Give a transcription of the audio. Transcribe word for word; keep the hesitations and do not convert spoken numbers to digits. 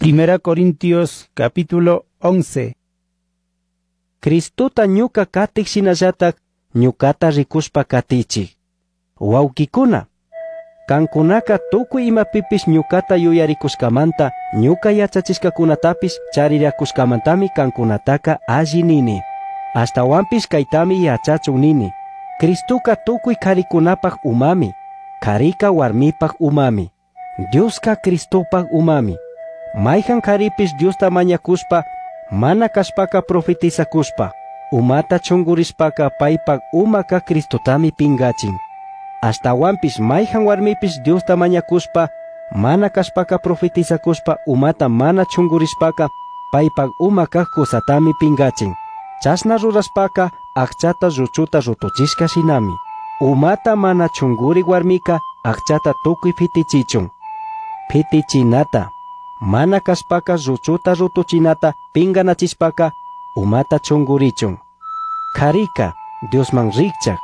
Primera Corintios capítulo once. Cristota ñuca catij shinallataj ñucata ricushpa catichij. Huauquicuna, cancunaca tucui imapipish ñucata yuyaricushcamanta ñuca yachachishcacunatapish chariracushcamantami cancunataca alli nini. Ashtahuanpish caitami yachachun nini. Cristoca tucui caricunapaj umami, carica huarmipaj umami, Diosca Cristopaj umami. Maijan caripish Diosta mañacushpa, mana cashpaca profetizacushpa, umata chungurishpaca paipaj umaca Cristotami pingachin. Ashtahuanpish maijan huarmipish Diosta mañacushpa, mana cashpaca profetizacushpa umata mana chungurishpaca, paipaj uma caj cusatami pingachin. Chashna rurashpaca ajchata lluchuta rutuchishca shinami. Umata mana chunguri huarmica ajchata tucui fitichichun. Fitichinata, mana cashpaca lluchuta rutuchinata pinganachishpaca umata chungurichun. Carica Diosman rijchaj,